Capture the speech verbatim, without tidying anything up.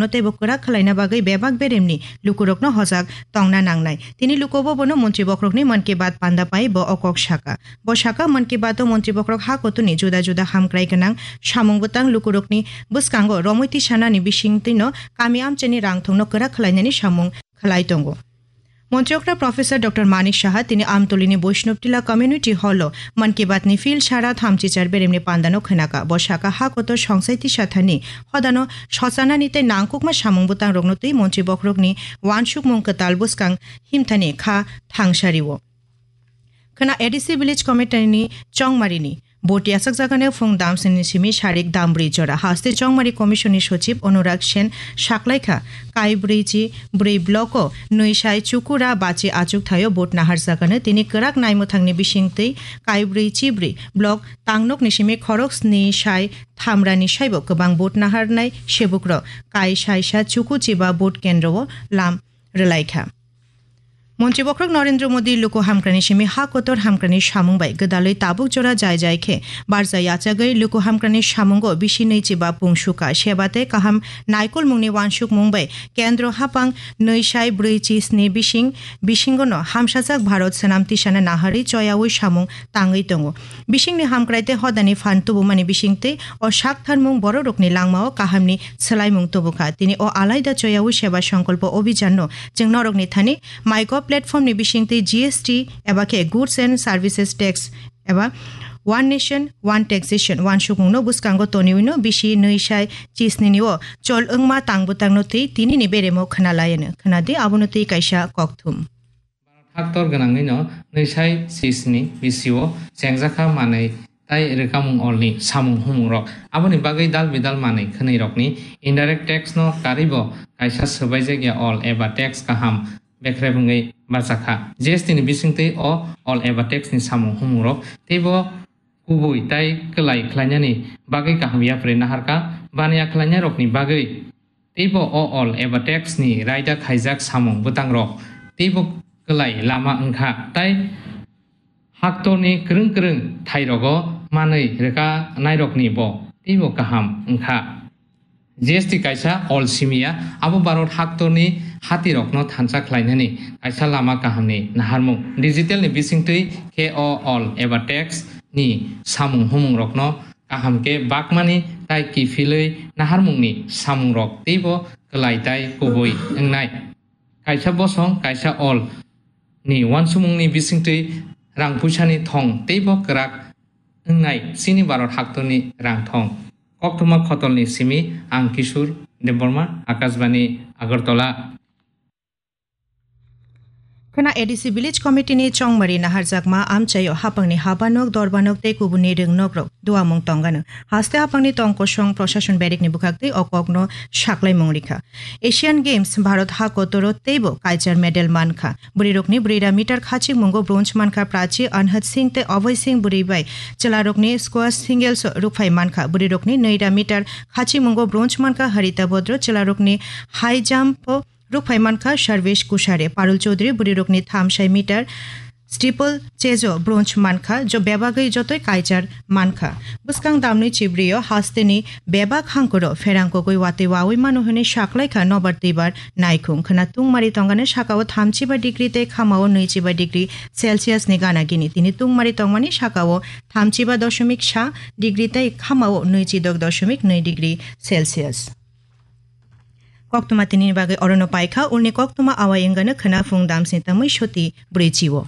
teibo kwrak khwlaina bagwi bebak beremni lukurokno hojak tongna nangnai. Tini lukubo bono Montri Bokhorokni Mann Ki Baat panda pai bo o kok saka. Bo saka, Mann Ki Baat o Montri Bokhorok ha kotorni juda juda hamkrai gwnang samung bwtang lukurokni bwskango romwi tisanani bisingtwino kami amchaini rangthongno kwrak khwlainani samung khwlai tongo. Montri okra Professor Doctor Manik Saha tini Amtolini Boishnobtila Community Hall o Mann Ki Baat ni phil sara thamchi char beremni pandano khwnaka. Bo saka ha kotor songsai tisa thani hodano sochanani tei nangkukma samung bwtang rokno twi Montri Bokhorokni wansukmung kwtal bwskang himthani kha thangsario. Khwna A D C Village Committee ni Chongmarini Boti asakjakani phung damsini simi sarik dambrwi jora. Haste Chongmari Commission ni Sochib Anurag Sen saklaikha, kaibrwi chi brwi block o nwi sai chukura bachi achuk thaio vote naharjakani. Tini kwrak naimwthangni bisingtwi kaibrwi chi brwi block tangnokni simi khorok sni sai thamrani saibo kwbang vote naharnai sebukrok kai saisa chuku chiba vote kendro o lam rwlaikha. Montri Bokhorok Narendra Modi luku hamkrani simi ha kotor hamkrani samung bai gwdalwi tabuk jora jai jai khe barja yachagwi luku hamkrani samungo bisi nwi chiba pung suka seba tei kaham naikolmungni wansukmung bai kendro hapang nwi sai brwi chi sni bising bisingono hamsajak Bharat swnam tisana naharwi choyaui samung tangwi tongo. Bisingni hamkrai tei hodani phan tubumani bisingtwi o saktharmung bororokni langmao kahamni swlaimung tubukha. Tini o alaida choyaui seba songkolpo obhijanno chwng norokni thani MyGov platform ni bisingtwi G S T eba khe Goods and Services Tax eba One Nation One Taxation wansukmungno bwskango toniwino bisi nwi sai chisnini o chol wngma tangbwtangno twi tinini beremo khwnalaiyano. Khwnadi abono twi kaisa kokthum. Haktor gwnangwino nwi sai chisni bisio chengjakha manwi tai rwkamung olni samung humungrok. Aboni bagwi dal bidal manwi khwnwirokni indirect tax no karwibo kaisa swbaijakya ol eba tax kaham bekrep wngwi bachakha. G S T ni bisingtwi o ol eba tax ni samung humungrok teibo kubui tai kwlai khlainani bagwi kaham yapri naharkha. Baniya khlainairokni bagwi teibo o ol eba tax ni raida khaijak samung bwtangrok teibo kwlai lama wngkha, tai haktorni kwrwng kwrwng thairogo manwi rwkanairokni bo teibo kaham wngkha. G S T kaisa ol simiya, abo Bharat haktorni hatirokno thansa khlainani kaisa lama kahamni naharmung. Digital ni bisingtwi khe o ol eba tax ni samung humungrokno kaham khe bakmani tai kiphilwi naharmungni samungrok teibo kwlai tai kubui wngnai. Kaisa bosong kaisa ol ni wansukmungni bisingtwi rang puisani thong teibo kwrak wngnai chini Bharat haktorni rang thong. Koktwma Khotolni simi ang Kishore Debbarma, Akashbani, Agartala. Khwna A D C Village Committee ni Chongmari naharjakma amchaio hapangni habanok, dorbanok tei kubuni rwngnokrok duamung tongano. Haste hapangni tongkosong proshashon berikni bwkhaktwi o kokno saklaimung rikha. Asian Games Bharat ha kotoro teibo kaichar medal mankha. Bwrwirokni bwrwira meter khachikmungo bronze mankha Prachi Anhat Singh tei Abhay Singh, bwrwi bai chwlarokni squash singles rukphai mankha. Bwrwirokni nwira meter khachikmungo bronze mankha Harita Bodro, chwlarokni high jump o rukphai mankha Sarvesh Kushare. Parul Chaudhary bwrwirokni thamsai meter steeple chase o bronze mankha, jo bebagwi jotoi kaichar mankha. Bwskang damnwi chibrio hasteni bebak hangkoro pherang kogwi watwi wawi mano hwnwi saklaikha nobar twibar naikhung. Khwna tungmari tongani sakao thamchiba degree tei khamao nwichiba degree Celsius ni gana gini. Tini tungmari tongmani sakao thamchiba doshomik sa degree tei khamao nwichidok doshomik nwi degree Celsius. Koktwma tinini bagwi orono paikha, ulni koktwma awai wngano khwna phung damsni tamwi soti brwichi o.